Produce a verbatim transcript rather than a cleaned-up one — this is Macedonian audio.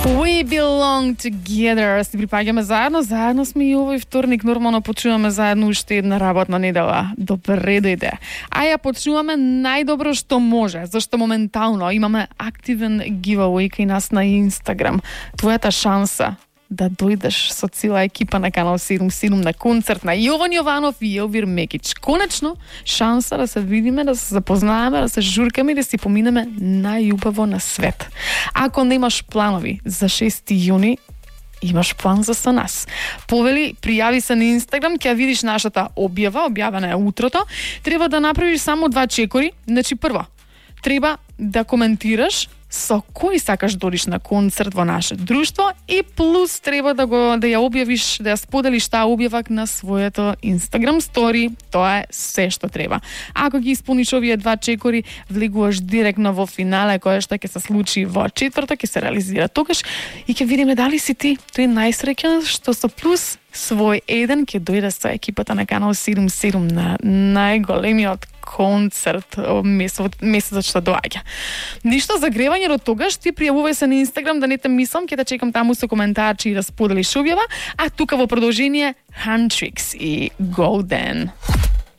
We belong together. Си припаѓаме заедно, заедно сме и овој вторник, нормално почнуваме заедно уште една работна недела. Добре дојде. А ја почнуваме најдобро што може, зашто моментално имаме активен giveaway кај нас на Инстаграм. Твојата шанса да дојдеш со цела екипа на Канал седум седум на концерт на Јован Јованов и Елвир Мекич. Конечно, шанса да се видиме, да се запознаеме, да се журкаме и да си поминеме најубаво на свет. Ако немаш планови за шести јуни, имаш план за со нас. Повели, пријави се на Инстаграм, ќе видиш нашата објава, објавена е утрото. Треба да направиш само два чекори. Значи, прво, треба да коментираш со кој сакаш додиш на концерт во наше друштво и плюс треба да го да ја објавиш, да ја споделиш таа објава на своето Instagram стори. Тоа е се што треба. Ако ги исполниш овие два чекори, влегуваш директно во финале кое што ќе се случи во четврток, ќе се реализира тогаш и ќе видиме дали си ти тој најсреќен што со плюс свој еден ќе дојде со екипата на Канал седум седум на најголемиот концерт месецот, месецот што доаѓа. Ништо за гревање до тогаш, ти пријавувај се на Инстаграм, да не те мислам, ќе те чекам таму со коментарчи и да споделиш објава, а тука во продолжение Huntrix и Golden.